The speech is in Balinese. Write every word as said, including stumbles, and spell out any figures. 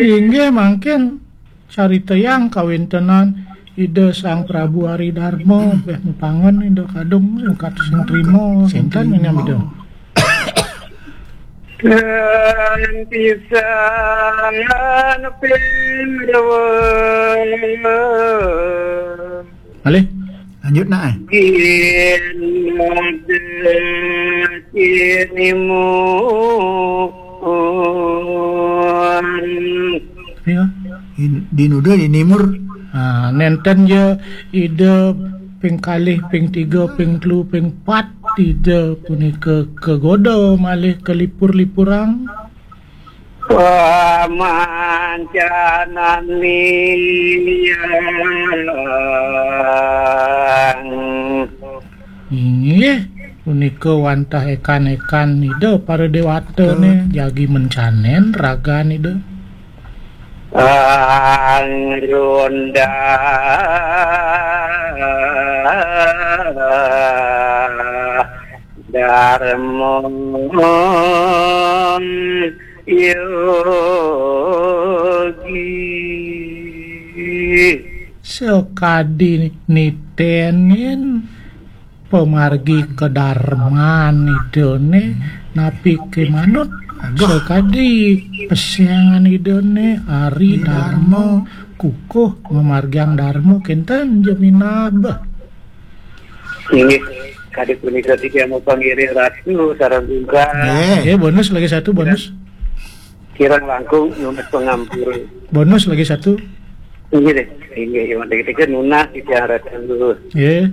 Inggih mangkin caritayang kawéntenan Ida Sang Prabu Ari Darma, béh mupangen Ida kadung sing kat-, sing trima, sinten ini Ida? Dan pisan pinduwa. Malih? Lanjut nak, eh. Gin model kinimu. Ya. In-, di nuda, di nimur. Ah, nénten ya Ida ping kalih, ping tiga, ping telu, ping pat Ida punika kagoda malih kalipur-lipurang. Pamancanan liang. Inggih, punika wantah ékan-ékan Ida para déwata né jagi mencanén ragan Ida. Angrunda Darma Yogi. Sakadi niténin pamargi kadarman Idané napi ké manut. Aduh. Sakadi pesengan Idané Ari Ari Darma, Darma. Kukuh mamargiang Darma kénten jeminab. Inggih, kadi punika titiang mapangiring ratu sareng bungkah. Nggih. Nggih, bonus lagi satu, bonus. Kirang langkung nunas pangampura. Bonus lagi satu. Inggih deh. Inggih, yang penting nunas titiang ratu. Nggih.